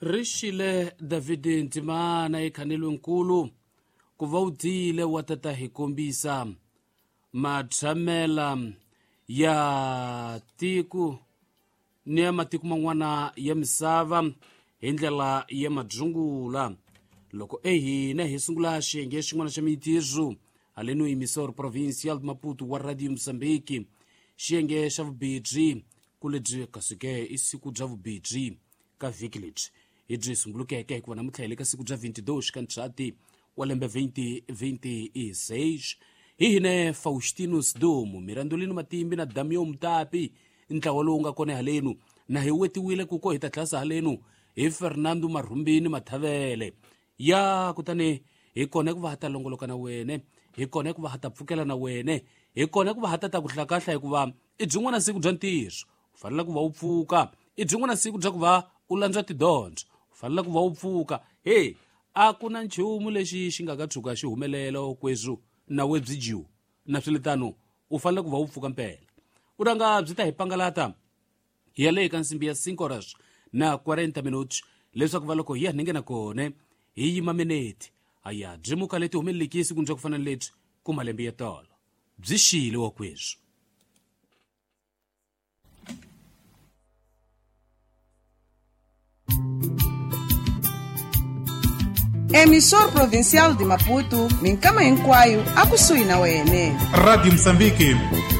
Ri xile David Ntimana ekhanelwenkulu ku va u tiyile wa tata hi kombisa matshamela ya tiko ni ya matiko man'wana ya misava hi ndlela ya madzungula. Loko ehina hi sungula xiyenge xin'wana xa mintirho haleno emissor provincial de Maputo wa Radio Mozambique, xiyenge xa vubedzi ku lebyi kasi-ke i siku bya vubedzi ka vhiki lebyi hi byi sumbulukeke, hikuva namuntlha hi le ka siku bya 22 ka Ndzhati wa lembe 2026. Hi hine Faustinus Domo, Mirandolino Matimbi na Damio Mutapi, ntlawa lowu nga kona halenu, na hi wetiwile kuko hi ta tlhasa halenu hi Fernando Marhumbini Mathavele ya. Kutani hi kona ku va ha ta longoloka na wene, hi kona ku va ha ta pfukela na wene, hi kona ku va ha ta ta ku hlakahla, hikuva i byin'wana siku bya ntirho, u fanele ku va u pfuka. I byin'wana siku bya ku va u landzwa tidyondzo, u fanele ku va u pfuka. He, a ku na nchumu lexi xi nga ka tshuka xi humelela kweswo na we byi dyiwa na swiletano, u fanele ku va u pfuka mpela. U ranga byi ta hi pangalata hi ya le ka nsimbi ya 5 horas na 40 minutos, leswaku va loko hi ya ningena kone hi yima mineti aya byi muka leti humeleleki siku bya ku fana na lebyi ku malembe ya tolo byi xile wa kweswo. Emissor Provincial de Maputo, minkama hinkwayo akusuhi na wene. Radio Mozambique.